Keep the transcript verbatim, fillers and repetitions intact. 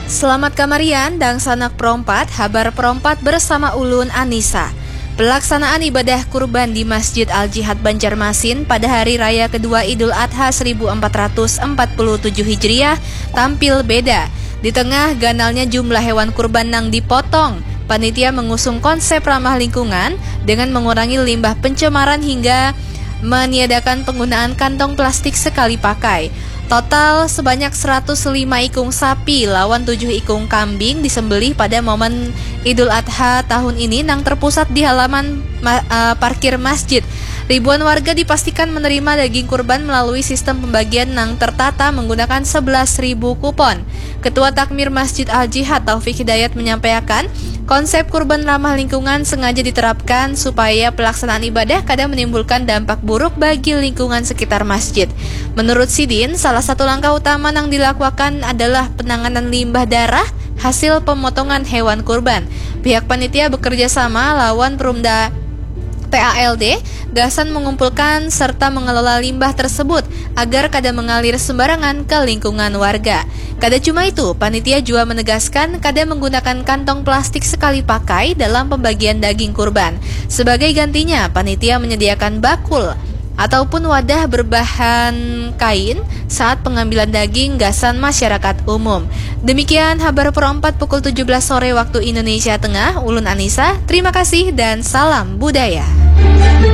Selamat kamarian, dangsanak perompat, habar perompat bersama ulun Anisa. Pelaksanaan ibadah kurban di Masjid Al-Jihad Banjarmasin pada hari raya kedua Idul Adha seribu empat ratus empat puluh tujuh Hijriah tampil beda. Di tengah ganalnya jumlah hewan kurban nang dipotong, panitia mengusung konsep ramah lingkungan dengan mengurangi limbah pencemaran hingga meniadakan penggunaan kantong plastik sekali pakai. Total sebanyak seratus lima ikung sapi lawan tujuh ikung kambing disembelih pada momen Idul Adha tahun ini nang terpusat di halaman ma- eh, parkir masjid. Ribuan warga dipastikan menerima daging kurban melalui sistem pembagian nang tertata menggunakan sebelas ribu kupon. Ketua Takmir Masjid Al-Jihad Taufik Hidayat menyampaikan, konsep kurban ramah lingkungan sengaja diterapkan supaya pelaksanaan ibadah kada menimbulkan dampak buruk bagi lingkungan sekitar masjid. Menurut sidin, salah satu langkah utama yang dilakukan adalah penanganan limbah darah hasil pemotongan hewan kurban. Pihak panitia bekerja sama lawan Perumda P A L D gasan mengumpulkan serta mengelola limbah tersebut agar kada mengalir sembarangan ke lingkungan warga. Kada cuma itu, panitia juga menegaskan kada menggunakan kantong plastik sekali pakai dalam pembagian daging kurban. Sebagai gantinya, panitia menyediakan bakul ataupun wadah berbahan kain saat pengambilan daging gasan masyarakat umum. Demikian habar perompat pukul tujuh belas sore waktu Indonesia Tengah. Ulun Anissa, terima kasih dan salam budaya.